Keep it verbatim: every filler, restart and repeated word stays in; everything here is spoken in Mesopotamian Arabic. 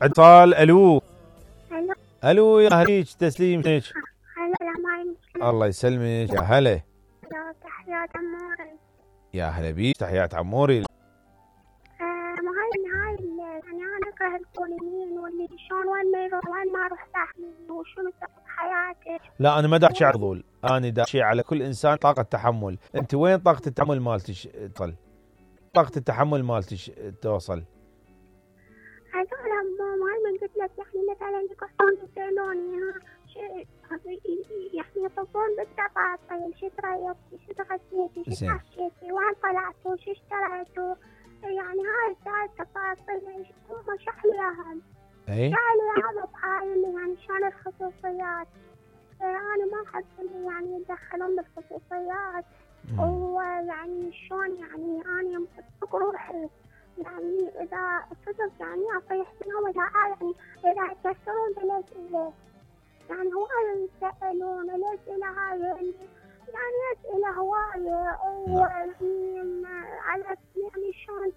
اتصال. الو الو الو يا هليج تسليمك. هلا ما الله يسلمك يا هلا. تحيات عموري. يا هلا بيك تحيات عموري. آه ما هاي هاي يعني انا اكره الكوليين واللي شلون وين ما يروح وين ما اروح ساحبني وشنو سبب حياتك. لا انا ما دا احكي على الفضول، انا دا احكي على كل انسان طاقه تحمل. انت وين طاقه التحمل مالتك تصل؟ طاقه التحمل مالتك توصل؟ هذول ما من قلت لك يعني مثلا يقصون يسالوني شيء يعني يطبون بالتفاصيل شو تريتي شو تغديتي شو حكيتي وين طلعتوا شو اشتريتوا يعني هاي هاي التفاصيل هم شرح لي اياها. اي شرح لي اياها بهاي يعني شلون الخصوصيات. انا ما احب يعني يتدخلون بالخصوصيات ويعني شلون يعني انا روحي يعني إذا صدق يعني أصيح فيهم إذا يعني إذا يكسرون بالأسئلة يعني هواية يسألون الأسئلة هاي يعني أسئلة هواية ويعني على يعني شلون